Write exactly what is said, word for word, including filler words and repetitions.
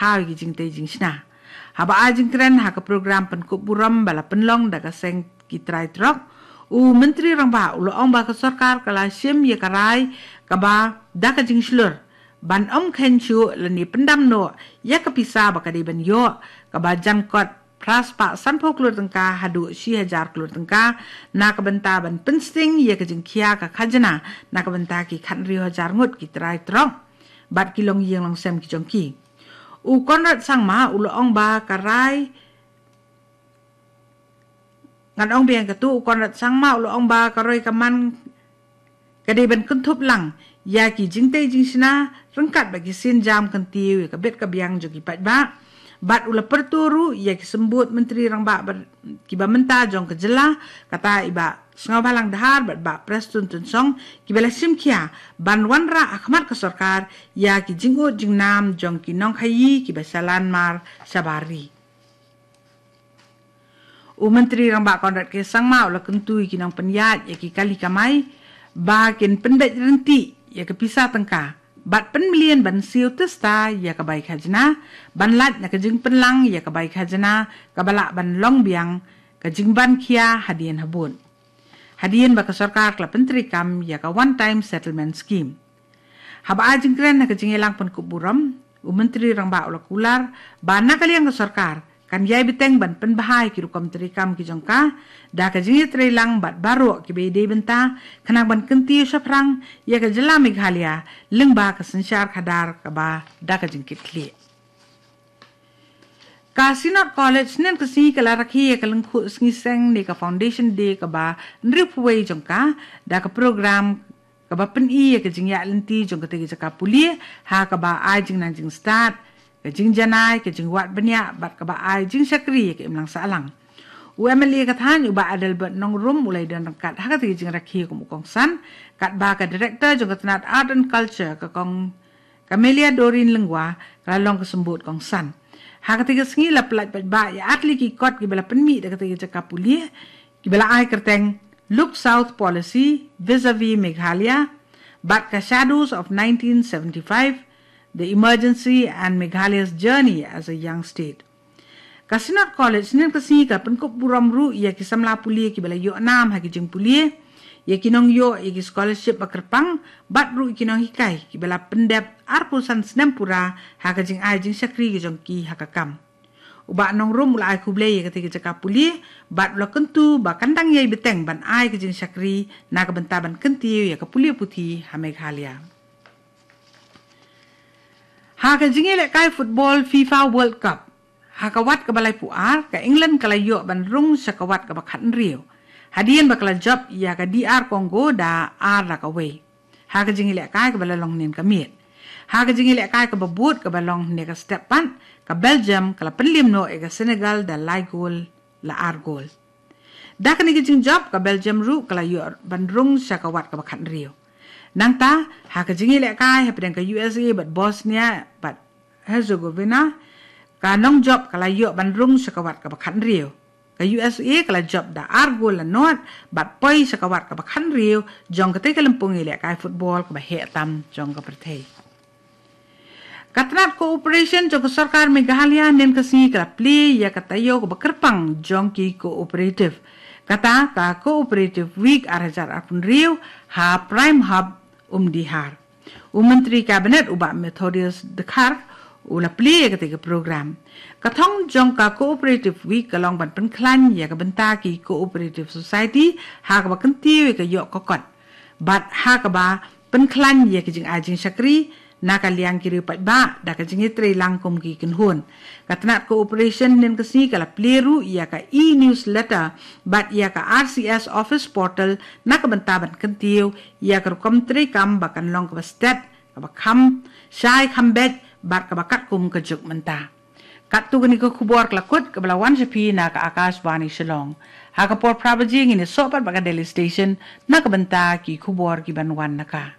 thaw ïa ki jingtei jingshna. Haba ai jingkren ha ka program pynkup burom ba la pynlong da ka seng ki trai trok, u Myntri Rangbah u la ong ba ka sorkar ka la shim ïa ka rai kaba da ka jingshlur ban ym kheiñ shuh lane pyndam noh ïa ka pisa ba ka dei ban ïoh, kaba jan kot phra spah sanphew klur tyngka haduh shi hajar klur tyngka, na ka bynta ban pynsting ïa ka jingkhia ka khajna na ka bynta ki khathynriew hajar ngut ki trai trok bad ki longïing longsem ki jong ki. U Conrad Sangma u la ong ba ka rai, ngan ong biang katu, u Conrad Sangma u la ong ba ka roi ka man ka dei ban kynthup lang ïa ki jingtei jingshna ryngkat bad ki sienjam kyntiew ïa ka bit ka biang jong ki paidbah. Bad u la pyrto ruh ïa ki symbud Myntri Rangbah ba, kiba mynta jong ka jylla, kata i Bah Sniawbhalang Dhar bad Bah Prestone Tynsong, kiba la shim khia ban wanrah ha khmat ka sorkar ïa ki jingud jingnam jong ki nongkhaïi kiba shalan mar shabar ri. U Myntri Rangbah Conrad K Sangma u la kyntu ïa ki nongpynïaid ïa ki kali kamai ba kin pynbeit ryntih ïa ka pisa tyngka bad pynmlien ban siew tista ïa ka bai khajna, ban lait na ka jingpynlang ïa ka bai khajna kaba lah ban long biang ka jingban khia hadien habud, hadien ba ka sorkar ka la pyntreikam ïa ka One Time Settlement Scheme. Haba ai jingkren ha ka jingïalang pynkup burom, u Myntri Rangbah u la kular ba na ka liang ka sorkar kan ïai bteng ban pynbha ïa ki rukom treikam ki jong ka da ka jingïatreilang bad baroh kiba ïadei bynta, khnang ban kyntiew shaphrang ïa ka jylla Meghalaya lyngba ka synshar khadar kaba da ka jingkitkhlieh. Ka Synod College hynnin ka sngi ka la rakhe ïa ka lyngkhuh sngi seng ne ka Foundation Day kaba hynriewphew wei jong ka da ka program kaba pyni ïa ka jingïaid lynti jong katei ka jaka pule, ha kaba ai jingnang jingstad, ka jingjanai, ka jingwad bniah bad kaba ai jingshakri ïa ka imlang sahlang. U M L A ka thaiñ u Bah Adelbert Nongrum u la ïadon ryngkat ha katei ka jingrakhe kum u kongsan, katba ka Director jong ka tnat Art and Culture, ka Kong Camelia Doreen Lyngwa, ka la long ka symbud kongsan. Ha katei ka sngi la pyllait paidbah ïa artylli ki kot kiba la pynmih da katei ka jaka pule, kiba la ai kyrteng Look South Policy Vis-a-Vis Meghalaya bad ka Shadows of nineteen seventy-five, The Emergency and Meghalaya's Journey as a Young State. Ka Synod College hynnin ka sngi ka pynkup burom ruh ïa ki samla pule kiba la ïoh nam ha ki jingpule, ïa ki nongïoh ïa ki scholarship ba kyrpang, bad ruh ïa ki nonghikai kiba la pyndep arphew san snem pura ha ka jingai jingshakri ki jong ki ha ka kam. U Bah Nongrum u la ai khublei ïa katei ka jaka pule bad u la kyntu ba kan dang ïai bteng ban ai ka jingshakri na ka bynta ban kyntiew ïa ka pule puthi ha Meghalaya. Ha ka jingïalehkai football FIFA World Cup, ha ka wat kaba laiphew ar, ka England ka la ïoh ban rung sha ka wat kaba khathynriew, hadien ba ka la jop ïa ka D R Congo da ar la ka wei. Ha ka jingïalehkai kaba la long hynnin ka miet. Ha ka jingïalehkai kaba bud kaba long hynne ka step pat, ka Belgium ka la pynliem noh ïa ka Senegal da lai gol la ar gol. Da kane ka jingjop, ka Belgium ruh ka la ïoh ban rung sha ka wat kaba khathynriew. Nangta, ha ka jingïalehkai hapdeng ka U S A bad Bosnia bad Herzegovina, ka nongjop ka la ïoh ban rung sha ka wat kaba khathynriew. Ka U S A ka la jop da ar gol la nod bad poi sha ka wat kaba khathynriew jong katei ka lympung ïalehkai football kaba heh tam jong ka pyrthei. Ka tnat cooperation jong ka sorkar Meghalaya hynnin ka sngi ka la plie ïa ka taïew kaba kyrpang jong ki cooperative, kata ka Cooperative Week ar hajar arphew hynriew ha Prime Hub Umdihar. U Myntri Cabinet u Bah Methodius Dkhar u la plie ïa katei ka program. Ka thong jong ka Cooperative Week ka long ban pynkhlaiñ ïa ka bynta ki cooperative society ha kaba kyntiew ïa ka ïoh ka kot bad ha kaba pynkhlaiñ ïa ka jingai jingshakri na ka liang ki riew paidbah da ka jingïatreilang kum ki kynhun. Ka tnat cooperation hynnin ka sngi ka la plie ruh ïa ka e-newsletter bad ïa ka R C S office portal na ka bynta ban kyntiew ïa ka rukom treikam ba kan long kaba stet, kaba kham shai kham beit bad kaba katkum ka juk mynta. Katto katne ka khubor ka la kut kaba la wan sha phi na ka Akashvani Shillong. Ha ka por phra baje ngin ïasoh pat bad ka Delhi Station na ka bynta ki khubor ki ban wan na ka.